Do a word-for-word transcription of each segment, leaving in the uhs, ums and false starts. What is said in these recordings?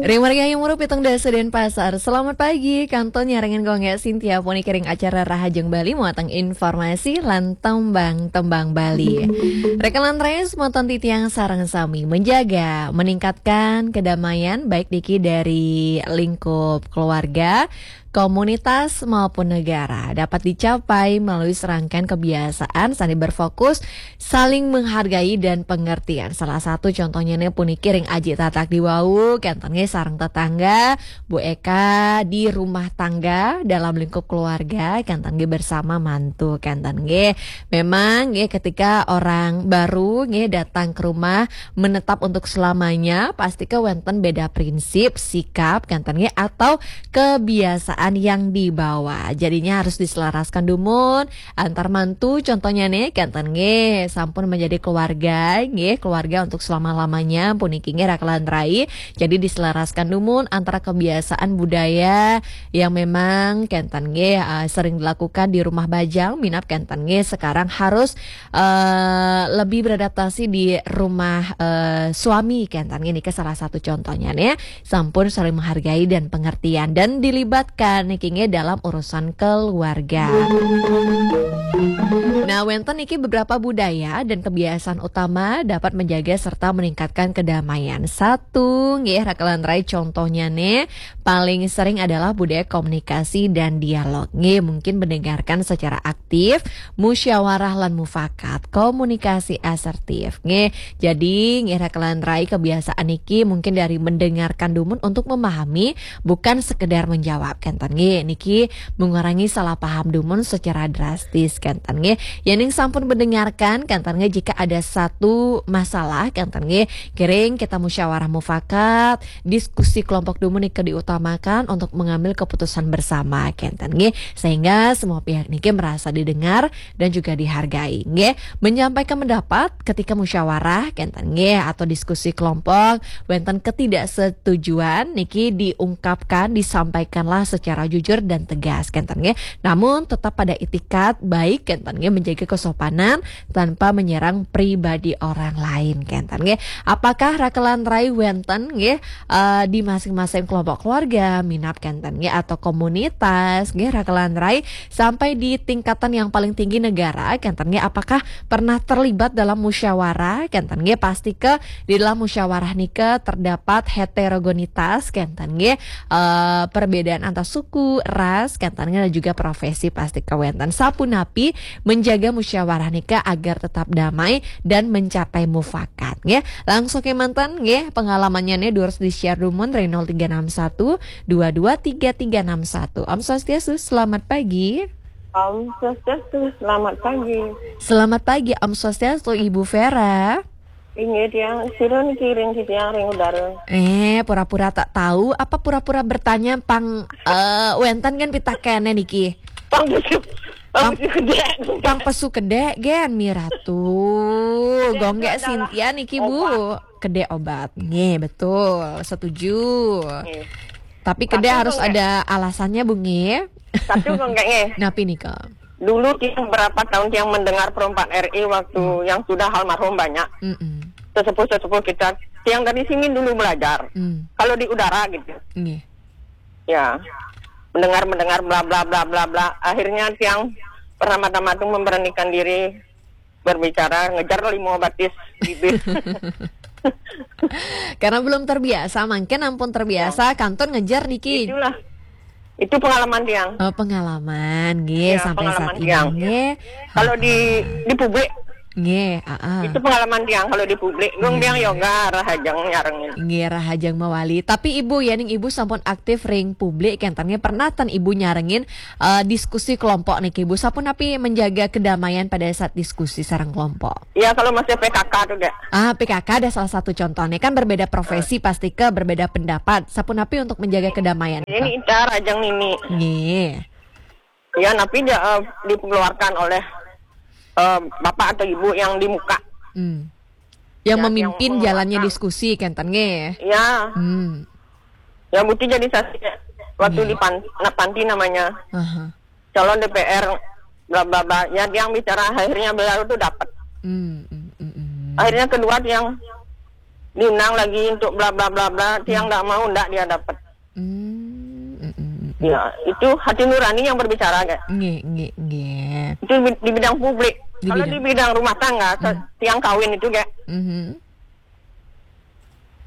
Ring margi Hayam Wuruk pitung dasa Denpasar. Selamat pagi, kantun nyarengin Gung Gé Sintia puniki ring acara Rahajeng Bali muatan informasi lan tembang-tembang Bali. Rekan lan rai semeton titiang sareng sami menjaga, meningkatkan kedamaian baik niki dari lingkup keluarga, komunitas maupun negara dapat dicapai melalui serangkaian kebiasaan sané berfokus saling menghargai dan pengertian. Salah satu contohnya nih puniki ring aji tatak diwau, kénten nggih sareng tetangga, Bu Eka di rumah tangga dalam lingkup keluarga, kénten nggih bersama mantu, kénten nggih. Memang nggih ketika orang baru nggih datang ke rumah menetap untuk selamanya, pasti ke wénten beda prinsip, sikap, kénten nggih atau kebiasaan yang dibawa. Jadinya harus diselaraskan dumun antar mantu, contohnya nih, kénten nggih sampun menjadi keluarga, nggih keluarga untuk selama-lamanya, puniki nggih raka lan rai. Jadi diselaraskan dumun antara kebiasaan budaya yang memang kénten nggih eh, sering dilakukan di rumah bajang, minab kénten nggih sekarang harus eh, lebih beradaptasi di rumah eh, suami, kénten nggih niki salah satu contohnya nih. Sampun saling menghargai dan pengertian dan dilibatkan niki nggih dalam urusan keluarga. Nah, wénten niki beberapa budaya dan kebiasaan utama dapat menjaga serta meningkatkan kedamaian. Satu nggih raka lan rai, contohnya nih paling sering adalah budaya komunikasi dan dialog. Nggih, mungkin mendengarkan secara aktif, musyawarah lan mufakat, komunikasi asertif. Nggih, jadi nggih raka lan rai, kebiasaan niki mungkin dari mendengarkan dumun untuk memahami, bukan sekedar menjawab, kénten nggih. Niki mengurangi salah paham dumun secara drastis, kénten nggih. Yéning sampun mendengarkan, kénten nggih, jika ada satu masalah, kénten nggih, kiring kita musyawarah mufakat, diskusi kelompok dumun niki diutamakan untuk mengambil keputusan bersama, kénten nggih. Sehingga semua pihak niki merasa didengar dan juga dihargai, nggih. Menyampaikan pendapat ketika musyawarah, kénten nggih, atau diskusi kelompok, wénten ketidaksetujuan niki diungkapkan, disampaikanlah secara jujur dan tegas, kénten nggih. Namun tetap pada itikat baik, kénten nggih, menjaga kesopanan tanpa menyerang pribadi orang lain, kénten nggih. Apakah raka lan rai wénten nggih eh, di masing-masing kelompok keluarga, minab kénten nggih atau komunitas nggih raka lan rai, sampai di tingkatan yang paling tinggi negara, kénten nggih, apakah pernah terlibat dalam musyawarah, kénten nggih, pasti ke di dalam musyawarah nika terdapat heterogenitas, kénten nggih, eh, perbedaan antar suku, ras, kénten nggih, dan juga profesi pasti ke wénten. Sapunapi menjaga musyawarah nika agar tetap damai dan mencapai mufakat nggih. Langsung ke manten nggih, pengalamannya nih durus di-share dumun ring nol tiga enam satu dua dua tiga tiga enam satu. Om Swastiastu, selamat pagi. Om Swastiastu, selamat pagi. Selamat pagi, Om Swastiastu, Ibu Vera. Inggih, tiang sira niki ring titiang ring udara. Eh, pura-pura tak tahu apa pura-pura bertanya pang eh, wénten kan pitakéné niki. Pang pesu, pang Pang pesu kedék. Pang pesu kedék gén, Mi Ratu. Kedék Gung Gé itu adalah Sintia niki, Bu. Obat. Kedék obat. Nggih, betul. Setuju. Nggih. Tapi kedék Tapi harus Gung Gé ada alasannya, Bu, nggih. Tapi Gung Gé, nggih. Napi nika? Dulu tiang berapa tahun tiang mendengar Pro empat R I waktu Hmm. yang sudah almarhum banyak. Mm-mm. Sesepuh-sesepuh kita, tiang dari sini dulu belajar. Hmm. Kalau di udara gitu. Nggih. Ya. Mendengar-mendengar bla bla bla bla bla. Akhirnya tiang pertama-tama tuh memberanikan diri berbicara, ngejar lima batis bibir. Karena belum terbiasa, mangkin ampun terbiasa, Ya. kantun ngejar niki. Itulah. Itu pengalaman tiang. Oh, pengalaman, nggih, Ya, sampai pengalaman saat ini, tiang. nggih. Kalau di, Ha-ha. di publik, Nggih, heeh. Itu pengalaman tiang kalau di publik. Gung Nggih. tiang yoga, rahajeng nyarengin. Nggih, rahajeng mawali. Tapi Ibu, yéning Ibu sampun aktif ring publik, kénten nggih pernah ten Ibu nyarengin eh, diskusi kelompok niki, Bu. Sapunapi menjaga kedamaian pada saat diskusi sareng kelompok? Ya, kalau masih P K K tuh, Dek. Ah, P K K ada salah satu contohnya. Kan berbeda profesi, pasti ke berbeda pendapat. Sapunapi untuk menjaga kedamaian? Ini Ica Rajang Nini. Nggih. Ya, tapi dia eh, dikeluarkan oleh eh, bapak atau ibu yang di muka. Hmm. Yang Ya, memimpin yang jalannya menguatkan. diskusi, kénten nggih? Ya. Hmm. Ya, Buti jadi saksi waktu Nggih. di pan, anak panti namanya. Aha. Calon D P R, bla bla bla. Ya, tiang bicara akhirnya beliau tuh dapat. Hmm, hmm, hmm, hmm. Akhirnya kedua tiang diundang lagi untuk bla bla bla bla, tiang ndak mau, ndak dia dapat. Hmm, mm, mm, mm. Ya, itu hati nurani yang berbicara, Kak. Nggih, nggih, nggih. Itu di di bidang publik. Di Kalau bidang- di bidang rumah tangga, se- tiang kawin itu, Kak. Mhm.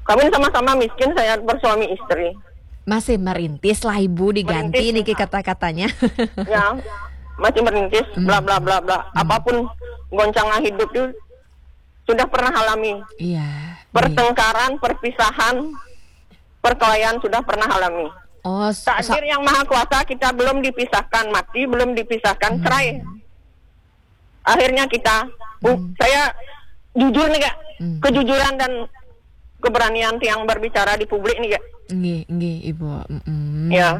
Kawin sama-sama miskin, saya bersuami istri. Masih merintis lah ibu, diganti Merintis. Niki kata-katanya. Ya, masih merintis, bla bla bla bla. Apapun goncangan hidup itu sudah pernah alami. Iya. Nggih. Pertengkaran, perpisahan, perkelahian sudah pernah alami. Oh, sa- Takdir yang maha kuasa, kita belum dipisahkan, mati belum dipisahkan, cerai. Akhirnya kita, bu, saya jujur nih, Kak, Hmm. kejujuran dan keberanian tiang berbicara di publik nih, Kak. Nggih, nggih, Ibu. Mm-mm. Ya.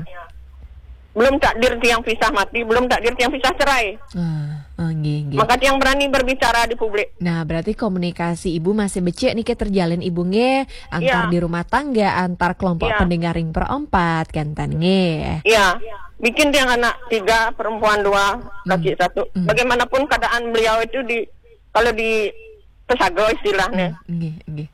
Belum takdir tiang pisah, mati, belum takdir tiang pisah, cerai. Ah, ah, nggih, nggih. Maka tiang berani berbicara di publik. Nah, berarti komunikasi Ibu masih becik niki terjalin Ibu nggih, antar Iya. di rumah tangga, antar kelompok Iya. pendengar ring perempat, kenten nggih. Iya, bikin tiang anak tiga, perempuan dua, laki satu. Bagaimanapun keadaan beliau itu di, kalau di pesaga istilahnya, Nggih, nggih.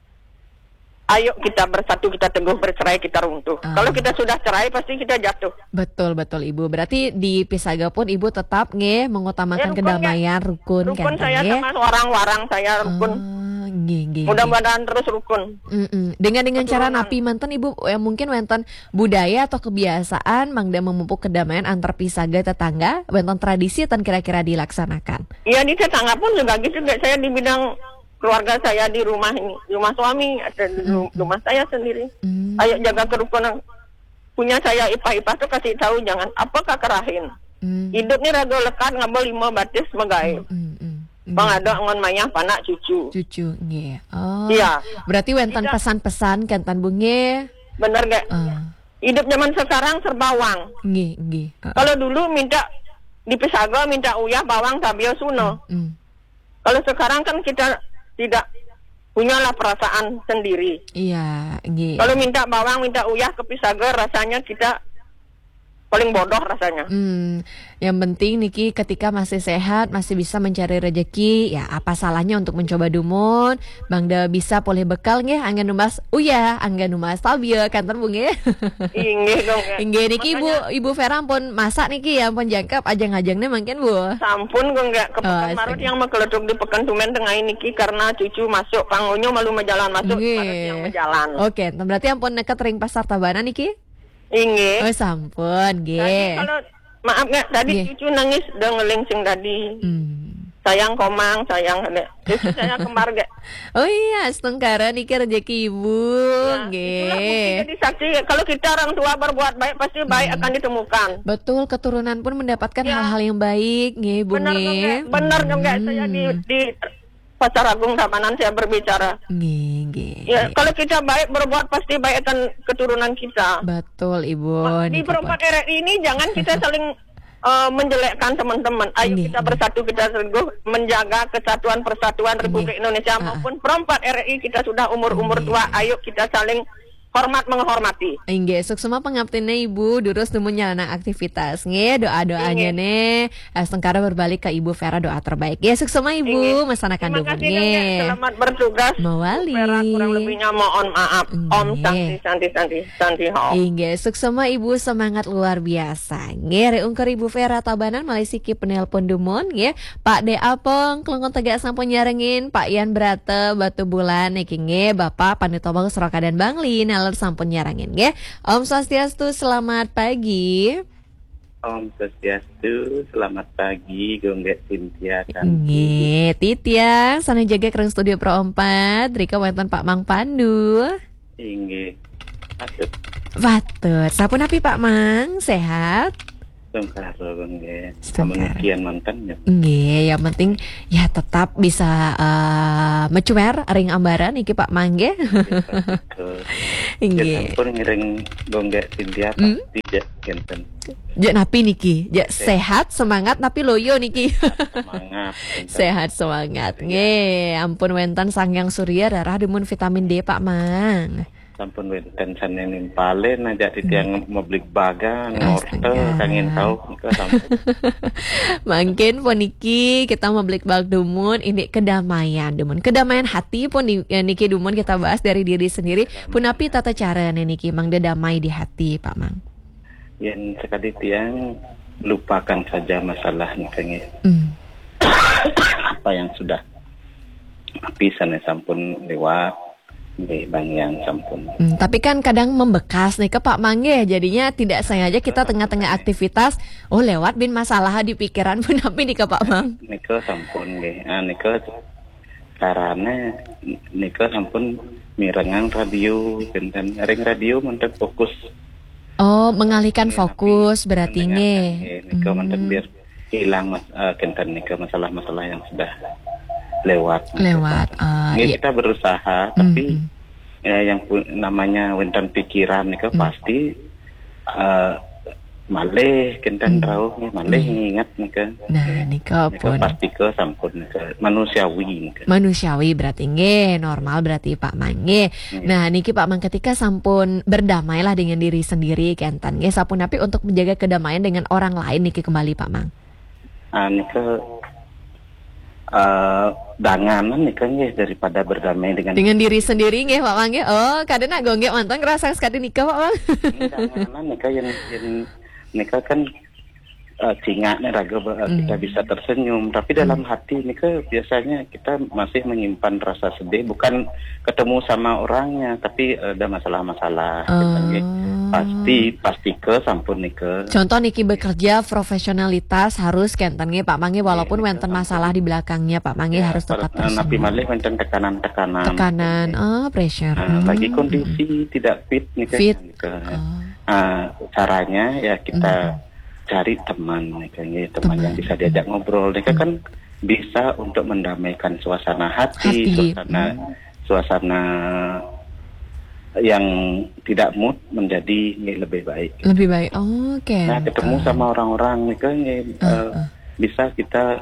ayo kita bersatu, kita teguh, bercerai kita runtuh. Ah. Kalau kita sudah cerai, pasti kita jatuh. Betul, betul Ibu. Berarti di Pisaga pun Ibu tetap nggih mengutamakan Ya, rukun, kedamaian, rukun, Rukun kenten saya nggih. sama orang warang saya rukun. Ah, nggih, nggih, nggih. Mudah-mudahan terus rukun. Mm-mm. Dengan dengan cara Keturunan. napi manten Ibu, eh, mungkin wenten budaya atau kebiasaan mangda memupuk kedamaian antar pisaga tetangga, wenten tradisi ten kira-kira dilaksanakan. Ya, di tetangga pun juga gitu, Kak. Saya di bidang keluarga saya, di rumah ini, di rumah suami, ada di ru- rumah saya sendiri. Hmm. Ayo jaga kerukunan. Punya saya ipah-ipah tuh kasih tahu, jangan apa kakerahin. Hmm. Hidup ni raga lekat ngaba lima batis magaib. Hmm, hmm. Pang ada ngon mayah panak cucu. Cucu nggih. Oh. Iya. Berarti wenten Tidak. Pesan-pesan kenten Bu nggih. Bener gak? Ah, Hidup zaman sekarang serba wang. nggih, nggih. Ah, Kalau dulu minta di Pisaga minta uyah, bawang, tabia, suna. Hmm. Kalau sekarang kan kita tidak punyalah perasaan sendiri. Iya, nggih. Kalau minta bawang, minta uyah ke Pisaga, rasanya kita paling bodoh rasanya. Hmm, yang penting niki ketika masih sehat, masih bisa mencari rezeki, ya apa salahnya untuk mencoba dumun, mangda bisa polih bekal nggih, angga numbas uyah, angga numbas tabia, kenten Bu nggih. Inggih dong, Kak. Inggih niki Ibu, Makanya Ibu Vera pun masak niki ya, pun jangkep ajeng-ajeng nih mungkin Bu. Sampun kok nggak ke Oh, Pekanbaru astaga. Yang mekeletuk di Pekan Tumen tengah niki karena cucu masuk, pangunyo malu majalan masuk, Nggih. Baru yang majalan. Oke, berarti ampun neket ring Pasar Tabanan niki? Inggih. Oh, sampun, Tadi nggih. kalau maaf nggak, tadi Nggih. Cucu nangis, dia ngeleng sing tadi. Hmm. Sayang komang, sayang. Cucu saya kembar gak? Oh iya, setengkara niki rezeki Ibu, Ya, itulah bukti nggih. Jadi saksi, kalau kita orang tua berbuat baik, pasti baik akan ditemukan. Betul, keturunan pun mendapatkan Ya. hal-hal yang baik, nggih, Bu Benar dong, nggih. Kak. Benar dong, Kak. Saya di, Hmm. di Pasar Agung Tabanan saya berbicara. Nggih, nggih. Ya, kalau kita baik berbuat, pasti baik akan keturunan kita. Betul, Ibu. Di Niki perempat pun. R R I ini jangan kita saling eh, menjelekkan teman-teman. Ayo Nggih, kita nggih. bersatu, kita teguh menjaga kesatuan persatuan Republik Nggih. Indonesia Ah, ah. Maupun perempat R R I kita sudah umur-umur Nggih. Tua. Ayo kita saling hormat menghormati. Inggih, suksma pangaptinnya Ibu, durus dumun nyalana aktivitas. Nggih, doa-doanya Inggih. nih. Eh, setengkara berbalik ke Ibu Vera, doa terbaik. Ya, suksma Ibu, Inggih. masanakan Terima dumun kasih, Kang, ya. nggih. Selamat bertugas. Mawali. Vera, kurang lebihnya mohon maaf. Om Inggih. Santi, Santi, Santi, Santi, Om. Inggih, suksma Ibu, semangat luar biasa. Nggih, ri ungkur Ibu Vera Tabanan, malih siki penelpon dumun, nggih. Pak De Apong, Klungkung Tegak sampun nyarengin, Pak Yan Brata, Batubulan, niki nggih, Bapak Pandito Bagus Rokadan Bangli, naler sampun nyarengin, nggih. Om Swastiastu, selamat pagi. Om Swastiastu, selamat pagi, Gung Gek Cynthia, Kanti. Nggih, titiang, sana jaga kering studio Pro empat, rika wonten Pak Mang Pandu. Inggih. Aduh, Batur, sapunapi Pak Mang, sehat? Sungkara, Gung Gek. Sungkara. Amun ukian mantan ya. Nggih, yang penting ya tetap bisa eh, mecuer ring ambaran niki Pak Mang nggih. Betul. Nggih. Ya, sampun ngiring Gung Gek Cynthia Hmm? pasti ya, kenten. Jek napi niki? Jek sehat, semangat napi loyo niki. Semangat. Kenten. Sehat semangat. Nggih, ampun wenten Sang Hyang Surya, rarah dumun vitamin D Pak Mang. Sampun wénten sané nimpalin aja titiang mebligbagan, ngorte, Astaga. Kangin tau, nika sampun. Mangkin puniki kita mebligbagan dumun, ini kedamaian dumun. Kedamaian hati pun di, eh, niki dumun kita bahas dari diri sendiri. Punapi tata carane niki mangda damai di hati, Pak Mang? Yén sakadi tiang lupakan saja masalah nika nggih. Hmm. Apa yang sudah, tapi sané sampun lewat, nggih, bang yang sampun. Hmm, tapi kan kadang membekas nih ke Pak Mang nggih. Jadinya tidak sengaja kita tengah-tengah aktivitas, oh, lewat bin masalah di pikiran punapi nih ke Pak Mang. Nika sampun nggih. Ah, nika carane nika sampun mirengang radio, kinten ring radio manten fokus. Oh, mengalihkan fokus berarti nggih. Nggih, nika manten biar hilang mas, eh, kinten nika masalah-masalah yang sudah lewat. Lewat. Ah, Nggih, iya. Kita berusaha, tapi Hmm. ya, yang pu- namanya wénten pikiran nika pasti eh, malih kinten rauh nggih, malih nginget nika. Nah, nika Nika pun pasti ke sampun nika manusiawi nika. Manusiawi berarti nggih, normal berarti Pak Mang nggih. Nah, niki Pak Mang ketika sampun berdamailah dengan diri sendiri kenten nggih, sapunapi untuk menjaga kedamaian dengan orang lain niki kembali Pak Mang? Ah, nika eh danganan nika nggih daripada berdamai dengan Dengan diri sendiri nggih Pak Mang nggih. Oh, kadang nak gonggek mantan ngerasa sekali nika Pak Mang. Danganan nika yang, yang nika kan eh, cingaknya raga ba- kita bisa tersenyum, tapi dalam hati nika biasanya kita masih menyimpan rasa sedih, bukan ketemu sama orangnya, tapi ada masalah-masalah. Kita nggih pasti pasti ke sampun nika. Contoh niki bekerja profesionalitas harus kenten nggih Pak Mang nggih, walaupun wenten masalah di belakangnya Pak Mang nggih harus tetap Nah, napi tersenyum. Malih wenten tekanan-tekanan. Tekanan, oh, pressure. Nah, lagi kondisi tidak fit nika. Fit. Nika. Ah, caranya ya kita cari teman nika nggih, teman yang bisa diajak ngobrol nika kan bisa untuk mendamaikan suasana hati, Hati. suasana suasana yang tidak mood menjadi nggih lebih baik. Lebih baik. Oke. Nah, ketemu sama orang-orang nika nggih eh, bisa kita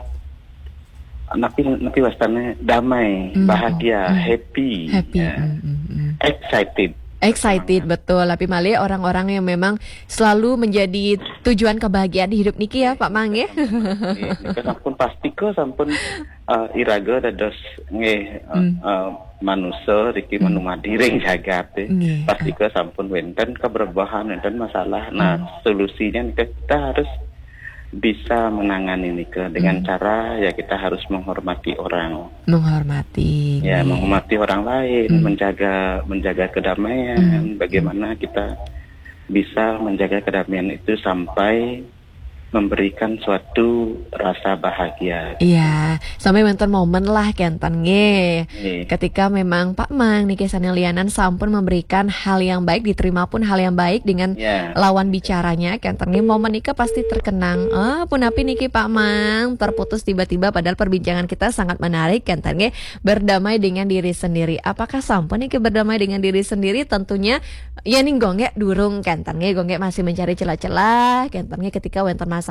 napi napi wastane damai, bahagia, happy, Happy. ya. Mm, mm, mm. Excited. Excited betul, tapi malih orang-orang yang memang selalu menjadi tujuan kebahagiaan di hidup niki ya Pak Mang ya. Nggih, nika sampun pasti ke sampun eh, iraga dados nggih eh, eh, manusa riki manumadi ring jagat eh. Nggih. Pasti ke sampun wenten keberbahan, wenten masalah. Nah, solusinya nika kita harus bisa menangani nika dengan cara ya kita harus menghormati orang. Menghormati. Ya, Nggih. Menghormati orang lain, menjaga menjaga kedamaian, bagaimana kita bisa menjaga kedamaian itu sampai memberikan suatu rasa bahagia. Iya, sampai wonten momen lah kenten nggih. Nggih. Ketika memang Pak Mang niki sané lianan sampun memberikan hal yang baik, diterima pun hal yang baik dengan Ya. lawan bicaranya kenten nggih, momen nika pasti terkenang. Ah, punapi niki Pak Mang terputus tiba-tiba padahal perbincangan kita sangat menarik kenten nggih, berdamai dengan diri sendiri. Apakah sampun niki berdamai dengan diri sendiri? Tentunya ya ning gonggek durung kenten nggih, gonggek masih mencari celah-celah kenten nggih ketika wonten masalah.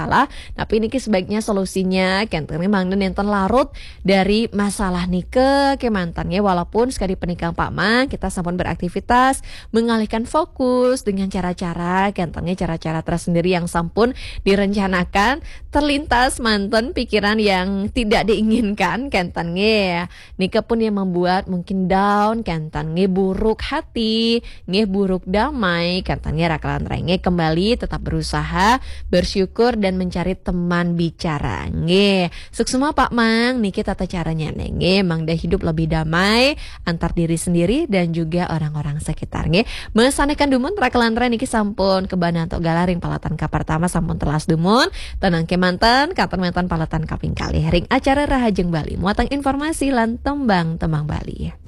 Tapi niki sebaiknya solusinya kenten nggih mangda nenten larut dari masalah nika kemanten nggih, walaupun sekali penikang Pak Mang kita sampun beraktivitas mengalihkan fokus dengan cara-cara kenten nggih, cara-cara tersendiri yang sampun direncanakan, terlintas manten pikiran yang tidak diinginkan kenten nggih. Nika pun yang membuat mungkin down kenten nggih, buruk hati nggih, buruk damai kenten nggih, raka lan renggih kembali tetap berusaha bersyukur dan mencari teman bicara nggih. Suksma Pak Mang niki tata caranya nggih, mangda hidup lebih damai antar diri sendiri dan juga orang-orang sekitar nggih. Mesanekan dumun raka lan renggih niki sampun kebanan tok galah ring palatan kapertama sampun telas dumun. Tenang kemanten, katon manten palatan kaping kalih ring acara Rahajeng Bali muatang informasi lan tembang-tembang Bali.